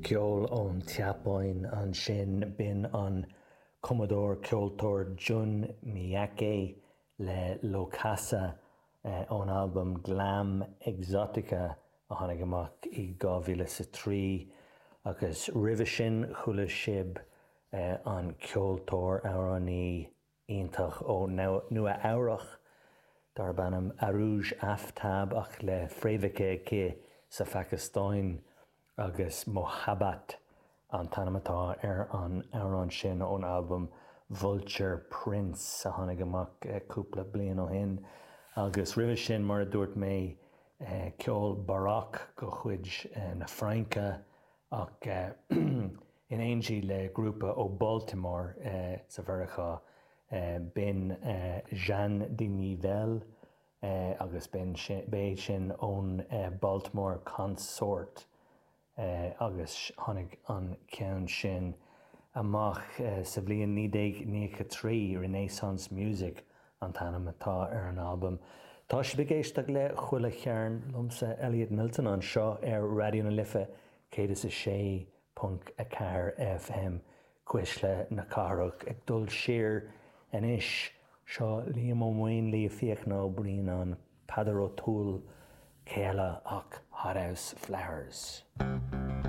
Ceol ón tSeapáin ansin, b'in an cumadóir ceoltóir Jun Miyake le Lokassa ón albam Glam Exotica a tháinig amach i 2003 agus roimhe sin chuala sibh an ceoltóir, amhránaí iontach ó Nua Eabhrach darb ainm Arooj Aftab ach le fréamhacha aici sa Phacastáin agus Mohabbat an t-ainm atá ar an amhrán sin ón albam Vulture Prince a tháinig amach cúpla bliain ó shin. Agus roimhe sin, mar a dúirt mé, ceol baroque de chuid na Fraince ach in éindí le grúpa ó Baltimore sa Mheiriceá, b'in Jeanne de Nivelle agus b'é sin ón Baltimore Consort agus tháinig an ceann sin amach sa bhliain 1993, Renaissance Music an t-ainm atá ar an albam. Tá sibh ag éisteacht le Chuile Chearn liomsa, Elliot Milton, anseo ar Raidió na Life 106.4 FM, Cuisle na Cathrach. Ag dul siar anois, seo Liam Ó Maonlaí, Fiachna Ó Braonáin, Peadar Ó Tuathail, cé eile ach Hothouse Flowers.